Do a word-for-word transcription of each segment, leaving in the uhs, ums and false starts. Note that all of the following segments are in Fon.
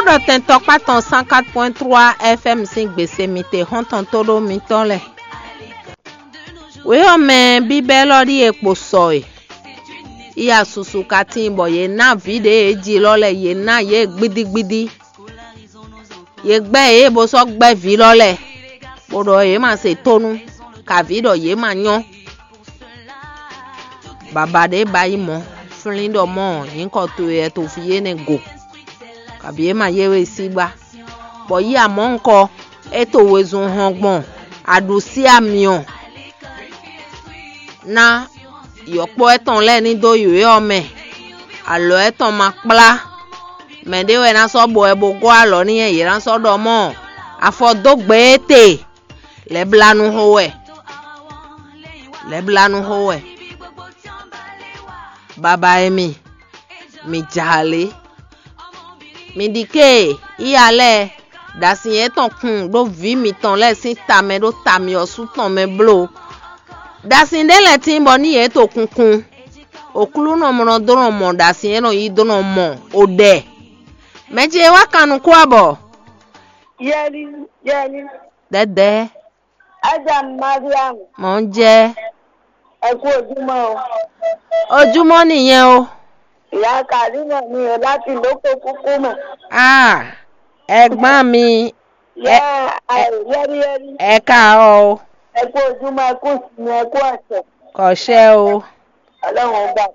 Ɖɔ tɛn tɔkpá tɔn cent quatre point trois F M sín gbèsè mi te xɔ́ntɔn tóɖó mitɔn lɛ́ɛ. Wě ɔ́ mɛ bíbɛ́ élɔ́ ɖíe kpo sɔ e. Iya susu ka tíin bɔ yě ná vǐ ɖě yě ji lɔ lɛ́ɛ, yě ná yě gbídígbídí. Yě gbɛ́ yě bó sɔ́ gbɛ́ vǐ lɔ lɛ́ɛ, bó ɖɔ yě ma se tónú, kaví ɖɔ yě ma nyɔ́. Baba ɖě ba yi mɔ̌, flín ɖɔ mɔ̌ nyǐkɔ towe wɛ to fí énɛ́ go, kabǐ é ma yé we sí gbá, bɔ yí amɔ̌ ŋkɔ é to wezun hɔn gbɔn aɖǔsí amyɔ ná yɔ̌kpɔ́ étɔn lɛ́ɛ ní dó yǒyɔ mɛ, alɔ étɔn ma kplá. Mɛ ɖé wɛ ná sɔ́ bɔ wɛ bó gɔ́ alɔ n'i, yě ná sɔ́ ɖɔ mɔ̌, afɔ dó gbe étɛ, lɛ̌blanu xo wɛ, lɛ̌blanu xo wɛ. Baba e mi, mi jǎ lě. Mi ɖi ké, iya lɛ́ɛ, ɖo asin yětɔn kun ɖó vǐ mitɔn lɛ́ɛ sín ta mɛ ɖó ta myɔ́sú tɔn mɛ bló. Ɖo asin ɖé lɛ́ɛ tíin bɔ ní yě to kunkun. Oklúnɔ mɔ nɔ dó nɔ mɔ ɖo asin e nɔ yí dó nɔ mɔ o ɖɛ. Mɛ ce e wá kan nukún abɔ. Yɛli, yɛli. Dɛdɛ. Aja Mariam. Mɔ ń jɛ. Ẹ kú ojúmọ́ o. Ojúmọ́ nìyẹn o. Ìyá Kàlínà mi ò láti lóko kúkú mọ̀. Ah, ẹ̀gbọ́n mi. Yá, ẹ- ẹ- yẹ́rìyẹ́rì. Ẹ káàárọ̀ o. Ẹ kú ojúmọ́, ẹ kú ìsinmi, ẹ kú ọ̀sẹ̀. Kò ṣe o. Ọlọ́run ó gbà.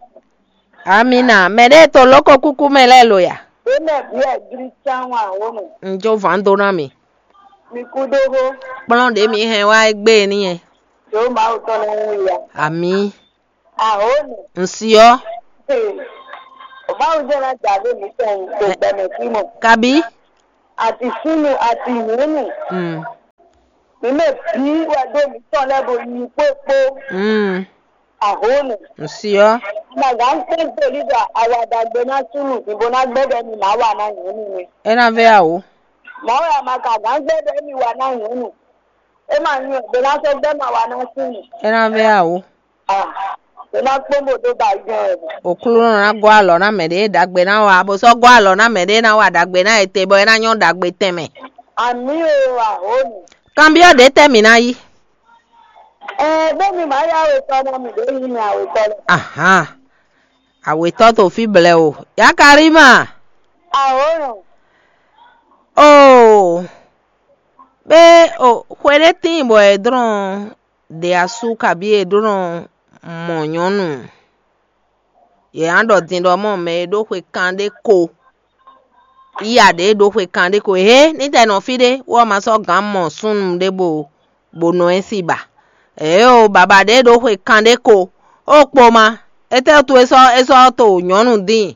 Amina. Mɛ ɖe to lóko kúkú mɛ lɛ́ɛ lo ya. Ó mɛ bí ẹ gírí sáwọn àwọn nù. N jó vǎn dó ná mi. Mi kú dógó. Kplɔ́n ɖě mi hɛn wá égbé n'i yɛ. Yóò máa wò tán lẹ́yìn ìyá. Amí. Àhónì. N si ɔ́. Báwo jẹ́ náà jà lé mi tán tó gbẹmẹ sí mọ̀? Kabi. Àti súnú àti nyǔnú. Mm. Mi mɛ bí wɛ dó mi tán lẹ́bù yí pópó. Mm. Àhónì. N si ɔ́. Màgá ń pín pèlí dà àwàdàgbé ná súnú ìbò ná gbẹ́dẹ̀ mi màá wà ná nyǔnú mi. É ná vɛ àwò. Màá wà má kà gán gbẹ́dẹ̀ mi wà ná nyǔnú. É máa nyí ọ̀gbẹ́ lásán gbẹ́ máa wà ná sí mi. É ná vɛ àwò. Ah, é ná kpɔ́n bò dó ba yí gan ẹ̀. Òklúnɔ ná gɔ́ alɔ ná mɛ ɖé ɖagbe ná wa, bó sɔ́ gɔ́ alɔ ná mɛ ɖé ná wa ɖagbe ná ete bɔ é ná nyɔ́ ɖagbe tɛnmɛ. Àmì o, àhónì. Kanbyɔ́ ɖě tɛ́ mǐ ná yí. Ɛ bó mi màá yá awetɔ ná mi ɖě yí mi awetɔ lɛ. Ahán. Awetɔ to fí blɛ o. Yakarima. Àhónì. Oo. Bé o xwe ɖé tíin bɔ è dlɔ́n ɖe asú kabí è dlɔ́n mɔ nyɔ̌nu. Yě ná ɖɔ din ɖɔ mɔ mɛ e ɖó xwe kanɖé ko. Yíya ɖě ɖó xwe kanɖé ko. Hé, ní tɛ nɔ fí ɖé, wɔ ma sɔ́ gǎn mɔ súnnu ɖé bo bo nɔ ɛ sí ba. Ě o, baba ɖě ɖó xwe kanɖé ko. Ó kpo ma, étɛ́ wútu é sɔ́ é sɔ́ to nyɔ̌nu dín?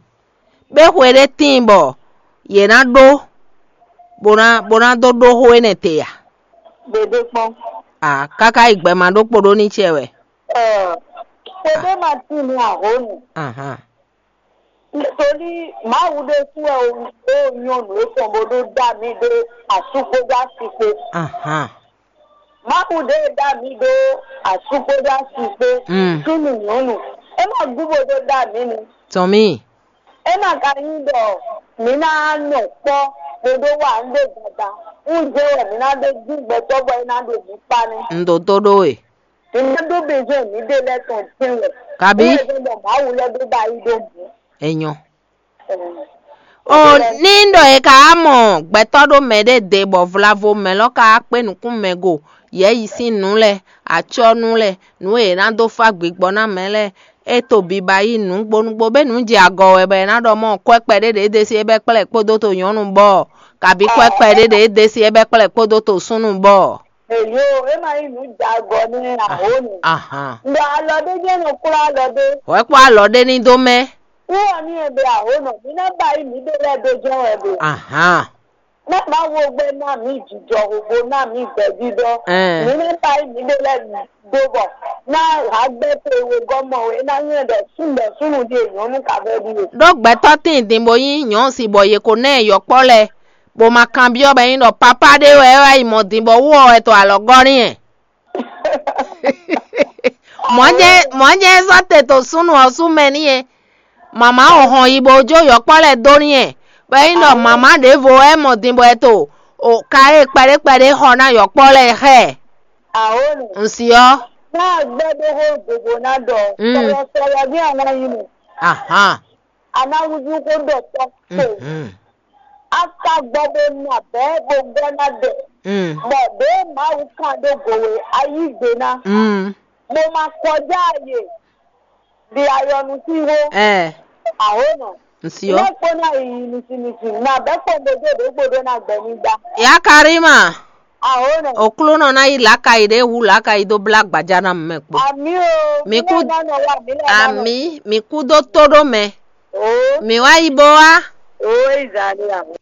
Bé xwe ɖé tíin bɔ yě ná ɖó bó ná bó ná dó ɖó xó énɛ́ te a? Ɖeɖe kpɔ́n. A káká yi gbɛ ma ɖó kpo ɖó ní cɛ wɛ. Ɛ, xwe ɖé ma tín ní ahónú. Ahan. Nítorí Mawu ɖésú wɛ ó ó nyɔ́ nǔ étɔn bó ɖó dá mì ɖó asú kpódó asi kpó. Ahan. Mawu ɖé dá mì ɖó asú kpódó asi kpó. Mm. Súnnu nyɔ̌nu. É ma gú bó ɖó dá mì nu. Tɔn mì. É ma ka nyí ɖɔ mǐ ná nɔ kpɔ́ bó ɖó wa nǔ ɖé gbadá. Ń jɛ wɛ mǐ ná ɖó dín gbɛtɔ́ bɔ é ná ɖo mǐ kpá ní. Un ɖo tó ɖó we. Mǐ ná ɖó bezɔn mǐɖée lɛ́ɛ tɔn tɛ́nwɛ. Kabí? Wíwɛ́ zɔ́n ɖɔ Mawu lɛ́ ɖó ba yí ɖó mǔ. Enyɔ. Ɔ, ní ɖɔ è ka wá mɔ gbɛtɔ́ ɖó mɛ ɖé de bɔ vlavo mɛ lɔ ka wá kpé nukún mɛ go, yɛ̌yi sín nǔ lɛ́ɛ, acɔ́nú lɛ́ɛ, nǔ e è nǎ dó fá gbigbɔ ná mɛ lɛ́ɛ, é to biba yí nǔgbónúgbó, bɛ́ nǔ jɛ agɔ wɛ bɔ è nǎ ɖɔ mɔ kwɛ́kpɛ ɖé ɖě é desi é bɛ́ kplɛ́ kpódó to nyɔ̌nu bɔ, kabí kwɛ́kpɛ ɖé ɖě é desi é bɛ́ kplɛ́ kpódó to súnnu bɔ. Èyí o, é ma nyí nǔ jɛ agɔ nú ahónú. Ahan. Ɖɔ alɔ ɖé jɛ́n nɔ kplɔ́ alɔ ɖé. Wɛ kpɔ alɔ ɖé ní dó mɛ. Wúwɔ ní ebe ahónú, mǐ ná ba yí mǐɖée lɛ́ɛ dó jɛ́n wɛ ɖo. Ahan. Ná má wo gbɛ ná mǐ jijɔ hǒgbó ná mǐ gbɛ́jínjɔ́n. Ɛn. Mǐ ná ba yí mǐɖée lɛ́ɛ dó bɔ ná hǎgbɛ́ towe gɔ́ mɔ we, é ná nyí ɖɔ súnnu ɖɔ súnnu ɖíe nyɔ̌nu ka vɛ́ ɖíe. Ɖó gbɛtɔ́ tíin din bó nyí nyɔ̌si bɔ yě ko ná ɛ yɔ̌kpɔ́ lɛ́ɛ, bó ma kanbyɔ́ bɔ é nyí ɖɔ papá ɖé wɛ é wá yi mɔ din bɔ wú ɔ wɛ to alɔ gɔ́ n'i ɛ. Mɔ̌ jɛ́n mɔ̌ jɛ́n é sɔ́ te to súnnu ɔ́ sú mɛ n'i ɛ. Mama ɔ́ hɔn yi bó jó yɔ̌kpɔ́ lɛ́ɛ dó n'i ɛ. Bɔ é nyí ɖɔ mama ɖěvo wɛ mɔ din bɔ é to o ka e kpɛɖé kpɛɖé xɔ ná yɔkpɔ́ lɛ́ɛ xɛ. Ahónú. Un si ɔ́. Ná gbɛ́ ɖó xó dobo ná ɖɔ. Mm. Sɔlɔsɔlɔ ní àwọn yìí nù. Ahan. Anáwùjú kó ɖɔ tɔ tó. Mhm. A ka gbɔ bó nà bɛ́ bó gbɔ ná dɛ. Mm. Bɔ ɖě Mawu kan ɖó gǒwe ayígbe ná. Mm. Bó ma kọjá àyè. Di ayɔnu sí wó. Ɛ. Ahónú. Un si ɔ́. Lɛ́kpɔ́ ná yi nisi nisi. Nà bɛ́ kpɔ́n gbodó ɖě gbodó ná gbɛ ní dá. Ya Karima. Ahónú. Oklúnɔ ná yi lǎkayi ɖě hu lǎkayi dó blá gbaja ná mɛ kpó. Àmì o. Mi kú. Nɔ wá mi lɛ. Àmì, mi kú dó tó ɖó mɛ. O. Mi wá yi bó wá. O, ìzàlẹ̀ àwọn.